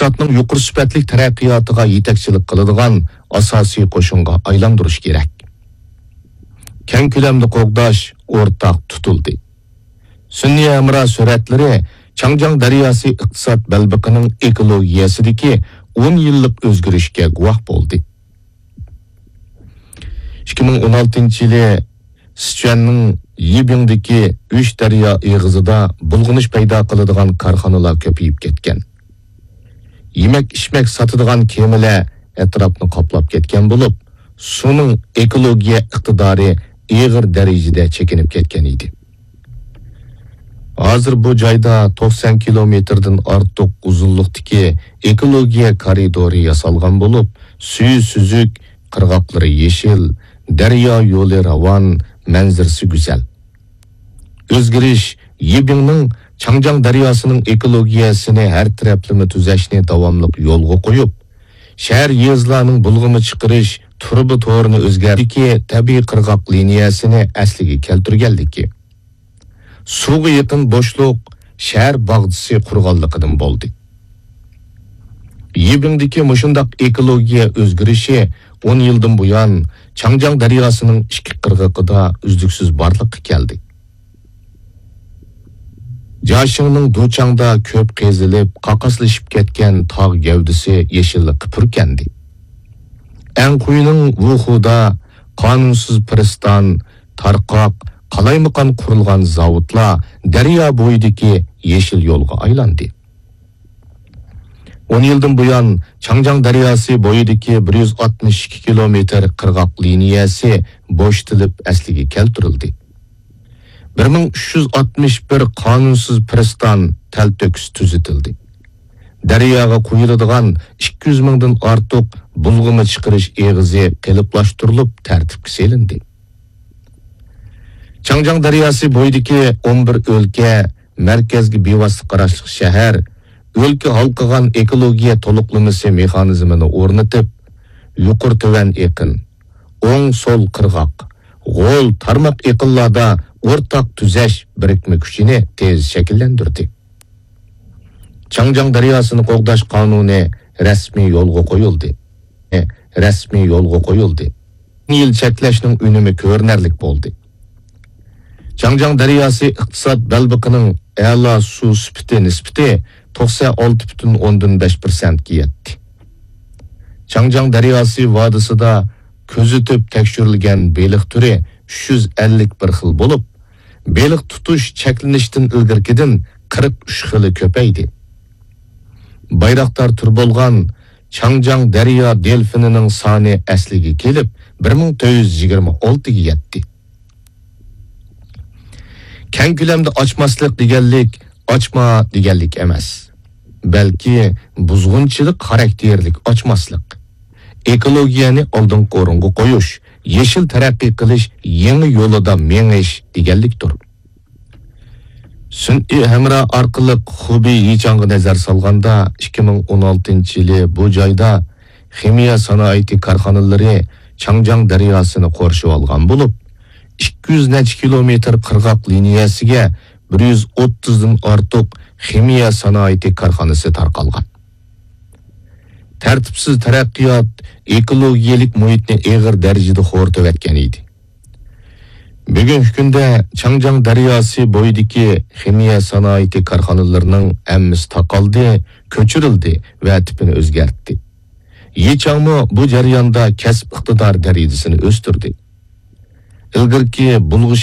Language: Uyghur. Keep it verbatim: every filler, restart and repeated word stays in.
ئىقتىسادنىڭ يۇقىرى سۈپەتلىك تەرەققىياتىغا يېتەكچىلىك قىلىدىغان ئاساسىي قوشۇنغا ئايلاندۇرۇش كېرەك. كەڭ كۆلەمدە قوغداش ئورتاق تۇتۇلدى. سۈنئىي ھەمراھ سۈرەتلىرى چاڭجياڭ دەرياسى ئىقتىساد بەلبېقىنىڭ ئېكولوگىيەسىدىكى ئون يىللىق ئۆزگىرىشكە گۇۋاھ بولدى. ئىككى مىڭ ئون ئالتىنچى يىلى سىچۈەننىڭ يىبىڭدىكى ئۈچ دەريا ئېغىزىدا بۇلغىنىش پەيدا قىلىدىغان كارخانىلار كۆپىيىپ كەتكەن. يېمەك-ئىچمەك ساتىدىغان كېمىلەر ئەتراپنى قاپلاپ كەتكەن بولۇپ، سۇنىڭ ئېكولوگىيە ئىقتىدارى ئېغىر دەرىجىدە چېكىنىپ كەتكەن ئىدى. ھازىر بۇ جايدا توقسان كىلومېتىردىن ئارتۇق ئۇزۇنلۇقتىكى ئېكولوگىيە كارىدورى ياسالغان بولۇپ، سۈيى سۈزۈك، قىرغاقلىرى يېشىل، دەريا يولى راۋان، مەنزىرىسى گۈزەل. ئۆزگىرىش يىبىڭنىڭ چاڭجياڭ دەرياسىنىڭ ئېكولوگىيەسىنى ھەر تەرەپلىمە تۈزەشنى داۋاملىق يولغا قويۇپ، شەھەر، يېزىلارنىڭ بۇلغىما چىقىرىش تۇرۇبا تورىنى ئۆزگەرتىدىكى تەبىئىي قىرغاق لىنىيەسىنى ئەسلىگە كەلتۈرگەنلىكى، سۇغا يېقىن بوشلۇق شەھەر باغچىسى قۇرغانلىقىدىن بولدى. يىبىڭدىكى مۇشۇنداق ئېكولوگىيە ئۆزگىرىشى ئون يىلدىن بۇيان چاڭجياڭ دەرياسىنىڭ ئىككى قىرغىقىدا ئۈزلۈكسىز بارلىققا كەلدى. جياشىڭنىڭ دۇچاڭدا كۆپ قېزىلىپ، قاقاسلىشىپ كەتكەن تاغ گەۋدىسى يېشىللىققا پۈركەندى. ئەنخۇينىڭ ۋۇخۇدا قانۇنسىز پىرىستان، تارقاق، قالايمىقان قۇرۇلغان زاۋۇتلار دەريا بويىدىكى يېشىل يولغا ئايلاندى. ئون يىلدىن بۇيان، چاڭجياڭ دەرياسى بويىدىكى بىر يۈز ئاتمىش ئىككى كىلومېتىر قىرغاق لىنىيەسى بوشىتىلىپ ئەسلىگە كەلتۈرۈلدى. بىر مىڭ ئۈچ يۈز ئاتمىش بىر قانۇنسىز پىرىستان تەلتۆكۈس تۈزىتىلدى. دەرياغا قۇيۇلىدىغان ئىككى يۈز مىڭدىن ئارتۇق بۇلغىما چىقىرىش ئېغىزى قېلىپلاشتۇرۇلۇپ تەرتىپكە سېلىندى. چاڭجياڭ دەرياسى بويىدىكى ئون بىر ئۆلكە، مەركەزگە بىۋاسىتە قاراشلىق شەھەر ئۆلكە ھالقىغان ئېكولوگىيە تولۇقلىمىسى مېخانىزمىنى ئورنىتىپ، يۇقىرى تۆۋەن ئېقىن، ئوڭ سول قىرغاق، غول تارماق ئېقىنلاردا ئورتاق تۈزەش بىرىكمە كۈچىنى تېز شەكىللەندۈردى. چاڭجياڭ دەرياسىنى قوغداش قانۇنى رەسمىي يولغا قويۇلدى. رەسمىي يولغا قويۇلدى. يىل چەكلەشنىڭ ئۈنۈمى كۆرۈنەرلىك بولدى. چاڭجياڭ دەرياسى ئىقتىساد بەلبېقىنىڭ ئەلا سۇ سۈپىتى نىسبىتى توقسان ئالتە پۈتۈن ئوندىن بەش پىرسەنتكە يەتتى. چاڭجياڭ دەرياسى ۋادىسىدا كۆزىتىپ تەكشۈرۈلگەن بېلىق تۈرى ئۈچ يۈز ئەللىك بىر خىل بولۇپ، بېلىق تۇتۇش چەكلىنىشتىن ئىلگىرىكىدىن قىرىق ئۈچ خىلى كۆپەيدى. بايراقدار تۈر بولغان چاڭجياڭ دەريا دېلفىنىنىڭ سانى ئەسلىگە كېلىپ، بىر مىڭ تۆت يۈز يىگىرمە ئالتىگە يەتتى. كەڭ كۆلەمدە ئاچماسلىق دېگەنلىك ئاچما دېگەنلىك ئەمەس، بەلكى بۇزغۇنچىلىق خاراكتېرلىك ئاچماسلىق، ئېكولوگىيەنى ئالدىنقى ئورۇنغا قويۇش، يېشىل تەرەققىي قىلىش يېڭى يولىدا مېڭىش دېگەنلىكتۇر. سۈنئىي ھەمراھ ئارقىلىق خۇبېي يىچاڭغا نەزەر سالغاندا، ئىككى مىڭ ئون ئالتىنچى يىلى بۇ جايدا خىمىيە سانائىتى كارخانىلىرى چاڭجياڭ دەرياسىنى قورشىۋالغان بولۇپ، ئىككى يۈز نەچچە كىلومېتىر قىرغاق لىنىيەسىگە بىر يۈز ئوتتۇزدىن ئارتۇق خىمىيە سانائىتى كارخانىسى تارقالغان. تەرتىپسىز تەرەققىيات ئېكولوگىيەلىك مۇھىتنى ئېغىر دەرىجىدە خورىتىۋەتكەن ئىدى. بۈگۈنكى كۈندە چاڭجياڭ دەرياسى بويىدىكى خىمىيە سانائىتى كارخانىلىرىنىڭ ھەممىسى تاقالدى، كۆچۈرۈلدى ۋە تىپىنى ئۆزگەرتتى. يىچاڭمۇ بۇ جەرياندا كەسىپ ئىقتىدار دەرىجىسىنى ئۆستۈردى. ئىلگىرىكى بۇلغىش